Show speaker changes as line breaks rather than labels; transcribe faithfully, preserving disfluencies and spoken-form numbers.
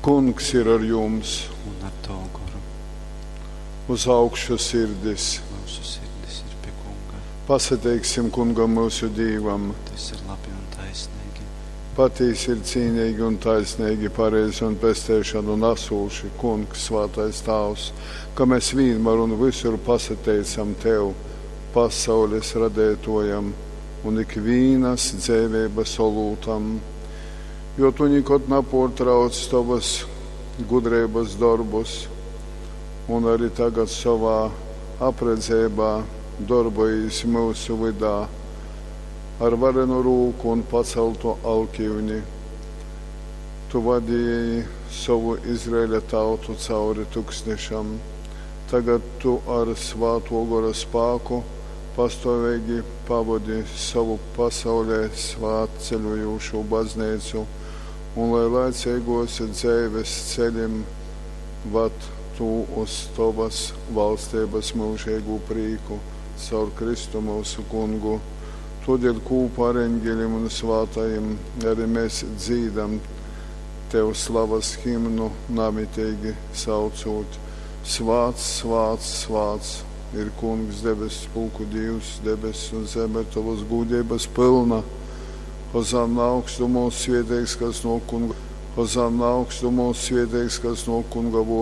Kungs ir ar jums!
Un ar tavu goru.
Uz augšu sirdis!
Mūsu sirdis ir pie Kunga.
Pasateiksim Kungam mūsu Dīvam!
Tas ir labi un taisnīgi.
Patīsi ir cīnīgi un taisnīgi, pareizi un pesteišanu nesūši, Kungs, svātais Tāvs, ka mēs vienmēr un visur pasateicam Tev, pasaules radētojam un ikvīnas dzēvības olūtam, jo Tu nikod naportrauc Tavas gudrības darbus un arī tagad savā apredzībā darbojies mūsu vydā ar varenu rūku un paceltu alkiuni. Tu vadīji savu Izraēļa tautu cauri tuksnešam. Tagad tu ar svāto gora spāku pastāvīgi pavadi savu pasaulē svātceļojošo baznīcu un lai laicīgos dzeives ceļim vad tu uz tovas valstības mūžīgu prīku caur Kristu mūsu kungu. Todēļ kopā ar eņģeļiem un svātajiem arī mēs dzīdam Tev slavas himnu namitīgi saucot. Svāts, svāts, svāts ir Kungs debesu pulku Dievs, debesis un zeme ir tavas gudrības pilna. Hozanna augstumos svētīgs, kas no kunga, Hozanna augstumos svētīgs, kas no kunga vārda.